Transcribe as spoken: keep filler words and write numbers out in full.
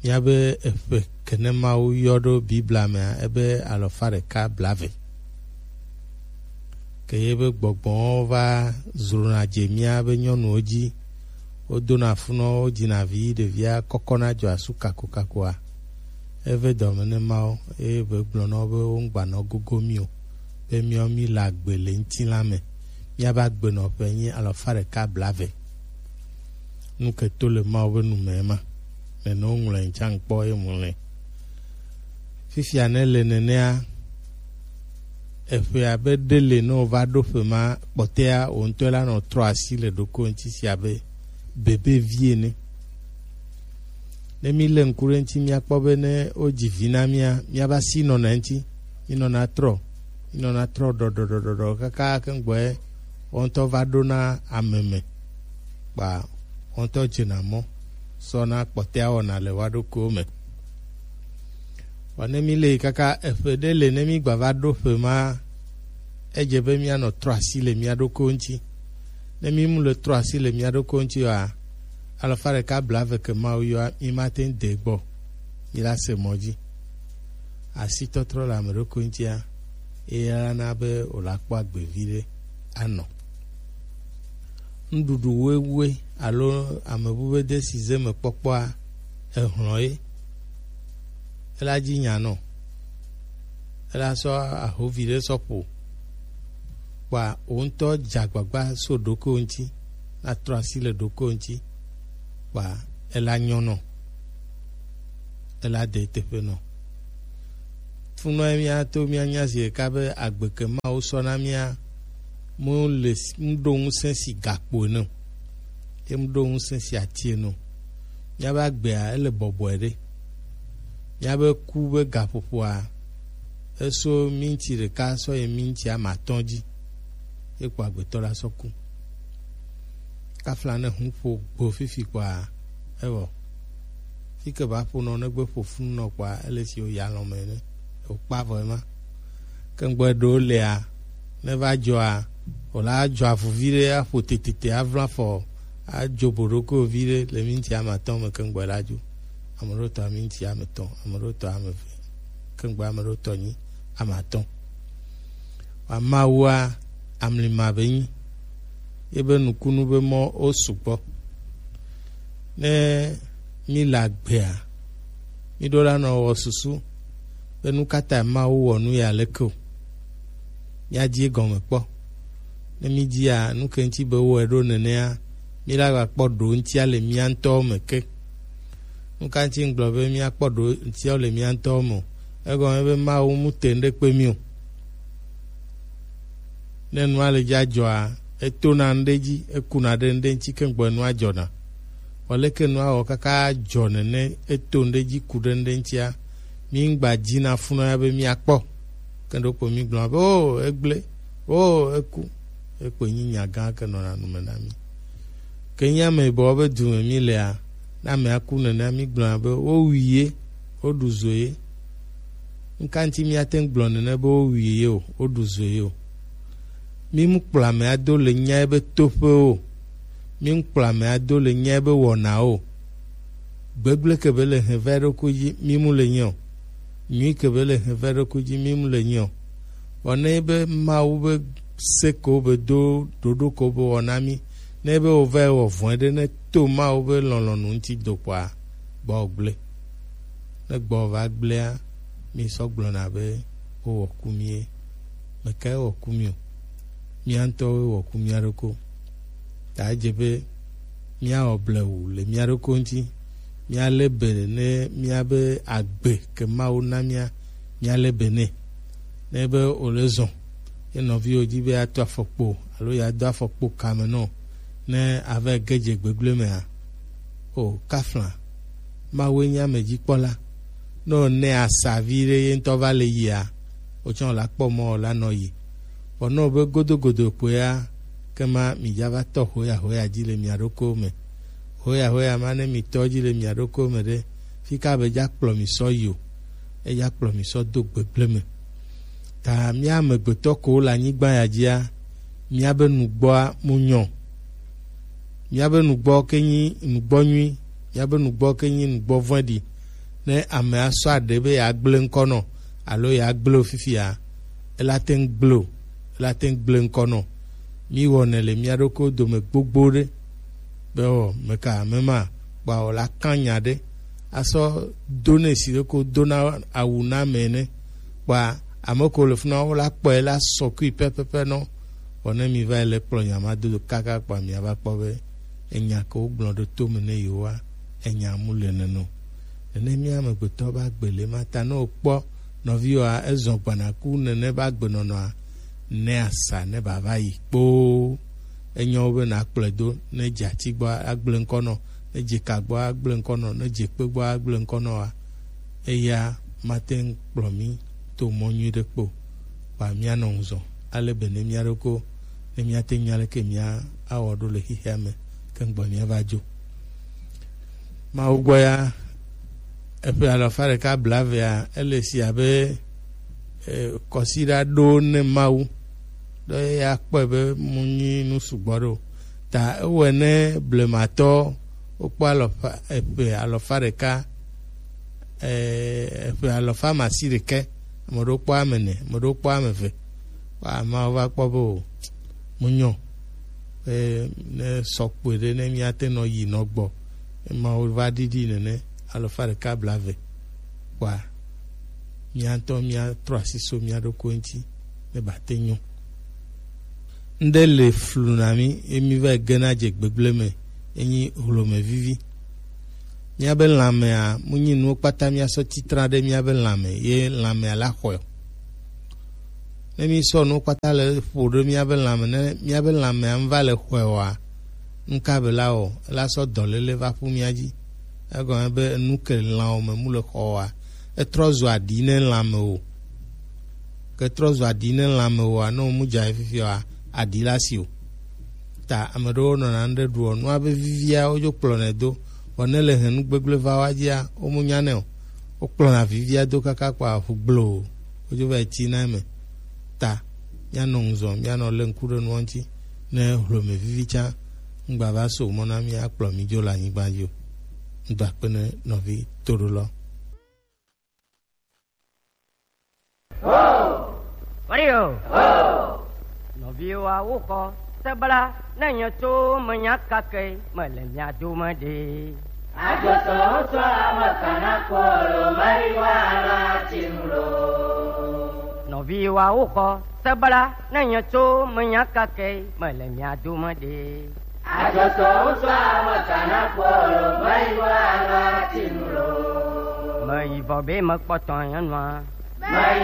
Míabe eƒe ke ne Mawu yɔ ɖo Biblia mea, ebe alɔfa ɖeka blaeve. Ke ye be gbɔgbɔwo va zrona dze míabe nyɔnuwo dzi. Wodona funɔwo, wodzina vi, ɖevia kɔkɔna dzɔ asu kakokakoa, eve dɔme ne Mawu, eye be gblɔ na wo be wogbanɔ gogo mí o, be míawo míle agbe le ŋutilã me. Míabe agbenɔƒe nyi alɔfa ɖeka blaeve. Nu ke to le Mawu be nu me ma. Nene woŋlɔe ŋtsa ŋkpɔ ye mu le. Fifia ne le nenea, eƒe abe ɖe le ne wova ɖo ƒe ma kpɔtɛa, wò ŋutɔ la nɔ trɔ asi le ɖoko ŋuti si abe bebe vi ene. Ne mi le ŋku ɖe ŋuti, míakpɔ be ne wodzi vi na mía, míava si nɔna ŋuti, mi nɔna trɔ, mi nɔna trɔ ɖɔɖɔɖɔɖɔ kaka keŋgbɔe wo ŋutɔ va ɖona ame me, kpa wo ŋutɔ dzena mɔ sɔna kpɔtɛa wɔna le wa ɖokuiwo me. Vɔ ne mi le kaka eƒe ɖe le ne mi gba va ɖo ƒe ma, edze be mianɔ trɔ asi le mia ɖokuiwo ŋuti. Ne mi mu le trɔ asi le mia ɖokuiwo ŋuti oa, alɔfa ɖeka blaeve ke Mawu yɔa, mi ma te ŋu de gbɔ, mi la se mɔ dzi. Asitɔtrɔ le ame ɖokui ŋutia, eya na be wòla kpɔ agbe viɖe anɔ. Nuɖuɖu wewue alo ame bu be de si ze me kpɔkpɔa, ehlɔ̃ ye. Ela dzi nya nɔ. Ela sɔ ahovi ɖe sɔ ƒo. Kpa wò ŋutɔ dze agbagba so ɖokuiwò ŋuti, natrɔ asi le ɖokuiwò ŋuti, kpa ela nyɔ nɔ, ela de teƒe nɔ. Funɔ ye míato míanya zi ɖeka be agbe ke Mawu sɔ na mía mu le s-, mu ɖo ŋusẽ si gakpo ene o, ye mu ɖo ŋusẽ si ati ene o. Míabe agbea ele bɔbɔe ɖe. Míabe ku be gaƒoƒoa, eso minti ɖeka sɔ yi minti ame atɔ̃ dzi, ye kpo agbetɔ la sɔ ku. Kafla ne hu ƒo gbo fifi kpɔa, ewɔ. Fi ke ba ƒo nɔ negbe ƒo funu nɔ kpɔa, ele si wo ya lɔ̃ me ne wòkpa vɔ ema. Ke ŋgbɔ ɖewo lea, ne va dzɔa, wòla adzɔ avu vi ɖe, aƒo tetete, avlɔ afɔ, adzo boɖokoe vi ɖe le minti ame atɔ̃ me, ke ŋgbɔ la dzo. Ame ɖewo tɔ minti ame etɔ̃, ame ɖewo tɔ ame eve, ke ŋgbɔ ame ɖewo tɔ nyi ame atɔ̃. Amawua amlima be nyi, ye be nukunu be mɔ wo sugbɔ. Ne mi le agbea, mi ɖo la nɔ wɔ susu be nu ka ta Mawu wɔ nu ya leke o. Míadi egɔme kpɔ. Ne mídia nu ke ŋuti be wɔe ɖo nenea, míla va kpɔ ɖo ŋutia le mía ŋutɔwo me ke. Nu ka ŋuti ŋgblɔ be míakpɔ ɖo ŋutia le mía ŋutɔwo me o? Egɔme be Mawu mu te ŋɖe kpe mí o. Ne nua le dza dzɔa, etona ŋɖe dzi, ekuna ɖe ŋɖe ŋuti ke ŋgbɔ nua dzɔna. Vɔ leke nua wɔ kaka dzɔ nene, eto ŋɖe dzi ku ɖe ŋɖe ŋutia, mi ŋgba dzina funɔ ya be miakpɔ. Ke ɖokpo mi gblɔ be, o, egblẽ, o, eku. Ekpo nyi nya gã ke nɔna nu me na mi. Ke nyi ame yibɔ be du me mi lea, ne amea ku nene mi gblɔna be, wowui ye, woɖu zo ye. Nu ka ŋuti míate ŋu gblɔ nene be wowui ye o, woɖu zo ye o? Mí mu kplɔ ame ado le nya be toƒe o. Mí mu kplɔ ame ado le nya be wɔna o. Gbegblẽ ke be le hɛn va ɖokui dzi, mí mu le nyi o. Nyui ke be le hɛn va ɖokui dzi, mí mu le nyi o. Vɔ ne be Mawu be se ko be do ɖoɖo ko be wɔna mí, ne be wo va wɔ vɔ̃e ɖe, ne to Mawu be lɔlɔ̃nu ŋuti do kpɔa, gbɔ gblẽ. Ne gbɔ va gblẽa, mi sɔ gblɔna be wowɔ ku mi ye. Mekae wɔ ku mi o? Mía ŋutɔwoe wɔ ku mía ɖokui. Ta edze be míawɔ blewu le mía ɖokui ŋuti. Míalé be ne míabe agbe ke Mawu na mía, míalé be nɛ. Ne be wòle zɔ, ye nɔviwo dzi be yeato afɔkpo alo yeado afɔkpo kame nɔ, ne ava ge dze gbegblẽ mea, o kafla, Mawue nye amedzikpɔla. Ne wònɛ asa vi ɖe ye ŋutɔ va le yia, wòtsɔ la kpɔ mɔ la nɔ yi. Vɔ ne wòbe godogodo kpoea, kema midza va tɔ hoyahoya dzi le mia ɖokuiwo me. Hoyahoya ma ne mitɔ dzi le mia ɖokuiwo me ɖe, fi ka be dza kplɔ mi sɔ yi o, edza kplɔ mi sɔ do gbegblẽ me. Ta mía amegbetɔ kowo le anyigba ya dzia, míabe nugbɔa mu nyɔ. Míabe nugbɔ ke nyi nugbɔ nyui, Míabe nugbɔ ke nyi nugbɔ vɔ̃ɖi. Ne ame asɔ aɖe be yeagblẽ ŋkɔ nɔ alo yeagblẽ wo fifia, ela te ŋu gblẽ o, ela te ŋu gblẽ ŋkɔ nɔ. Míwɔnɛ le mía ɖokuiwo dome gbogbo ɖe be ɔ meka mema kpɔa wòla kã nya ɖe asɔ do nɛ si ɖeko dona awu na ame ene. Kpɔa ame ko le funa wo la kpɔe la sɔ kui pɛpɛpɛ nɔ. Vɔ ne mi va yi le kplɔ nya ma do kaka kpɔa mia va kpɔ be enya ke wogblɔ ɖo to me ne yewoa, enya mu le neno. Nene mía amegbetɔ ba gbe le ma ta ne wokpɔ nɔviwoa ezɔ gbana ku nene ba gbe nɔnɔa, ne asa ne ba va yi kpoo. Enyo be na kplɔe do ne dze ati gbɔ agble ŋkɔ nɔ, ne dze ka gbɔ agble ŋkɔ nɔ, ne dze kpe gbɔ agble ŋkɔ nɔ wa. Eya mate ŋu kplɔ mí to mɔ nyui ɖe kpo. Kpa mía nɔ ŋuzɔ ale be ne mía ɖoko ne mía te nya leke mía awɔ ɖo le xixea me ke ŋgbɔ mía va dzo. Mawu gbɔ ya eƒe alafa ɖeka blavea ele si abe eh, kɔsiɖa ɖo ne Mawu ɖe ya kpɔe be mu nyi nu sugbɔ ɖo ta ewɔe ne blematɔ wokpɔ alɔfa eƒe alɔfa ɖeka eh, eƒe alɔfa masi ɖeke ame ɖewo kpɔ ame ene ame ɖewo kpɔ ame eve. Kpɔ ameawo va kpɔ be o mu nyɔ be ne sɔ kpɔe ɖe ne míate nɔ yi nɔ gbɔ emawo va ɖiɖi nene alɔfa ɖeka blave kpɔa míatɔ míatrɔ asi so mía ɖokui ŋuti ne bate nyɔ. Ŋɖe le flu na mí ye mí va gena dze gbegblẽ me enyi hlome vivi. Míabe lãmea mu nyi nuwo kpata míasɔ titran ɖe míabe lãme ye lãmea la xɔe o. Ne mísɔ nuwo kpata le ƒo ɖe míabe lãme ne míabe lãmea ŋu va le xɔe oa, nuka be la wɔ? Ela sɔ dɔléle va ƒu mía dzi. Egɔme be enu ke lãwo me mu le xɔ oa, etrɔ zu aɖi ne lãme o. Ke trɔ zu aɖi ne lãme oa, ne womu dza ye fifia oa, aɖi la si o. Ta ame ɖewo nɔna nu ɖe ɖuɔ nua be vivia wodzo kplɔnɛ do, vɔ ne le he nu gbegblẽ va woa dzia, womu nyanɛ o. Wokplɔna vivia do kaka kpɔa ʋu gbloo wodzo va yi tina eme. Ta míanɔ ŋuzɔ míanɔ lé ŋku ɖe nua ŋuti ne hlome vivi tsã ŋgba va so mɔ na mí akplɔ mí dzo le anyigba dzi o. Ŋdɔ akpe ne nɔvi toɖolɔ. Mario. Nɔviwoa woxɔ sebla ne nye tso menya kake mele mia dome ɖe. Adzɔsɔ ŋutɔ ame kana kpɔ lo mari wa la tinu lo. Nɔviwoa woxɔ sebla ne nye tso menya kake mele mia dome ɖe. Adzɔsɔ ŋutɔ ame kana kpɔ lo mari wa la tinu lo. Meyi vɔ be mekpɔtɔ nyɔnua. Meyi